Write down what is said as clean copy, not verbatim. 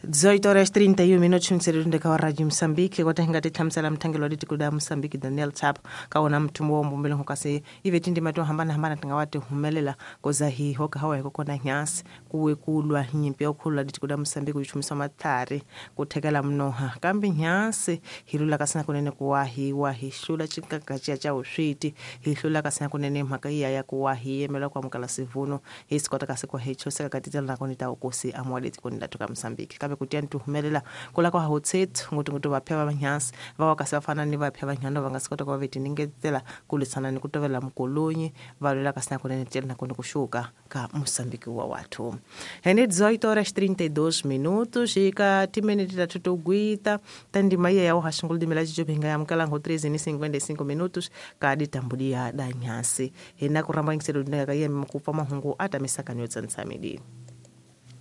18 horas 31 minutos mtsererundeka wa Radio Mozambique kwata hinga tihlamusela mthangelo wa litiko la Mozambique Daniel Chapo ka wona mthumbo wa mbumbelo kasi ive tindima to hambanahambana ti nga wa ti humelela koza hi hoka hawa hi kokona nyasi kuwe kulwa nyimpi ya kukhulula litiko la Mozambique ku chumisa matlhari ku thekela mnoha kambe nyasi hi lula kasi na kunene ku wa hi wa hi hlula xikakaciya xa vusweti hi hlula kasi na kunene mhaka iya ya ku wa hi yimela ku amukela sivuno hi swi kota kasi ku hi chuseka ka tindlela nakona ta vukosi amuwa letikweni la ka Mozambique kambe ku tiya ni ti humelela ku la ku hawutsethu ngopfungopfu vaphya va vanhyansi va wa kasi va fana ni vaphya vanhwana va nga si kota ku va ve tiningetela ku lwisana ni ku tovela mukolonyi va lwela kasi na kunene tiyela nakona ku xuka ka Mozambique wa wathu. Hene 18 horas 32 minutos hi ka timinete ta to gwita ta ndima iya ya uhaxingulu dimela cijobe hi nga amukela ngo 3:55 minutos ka ditambulia da nyasi hina ku rhamba yingiselo ka yemi ku pfa mahungu a ta misakani yo tsanisa midini.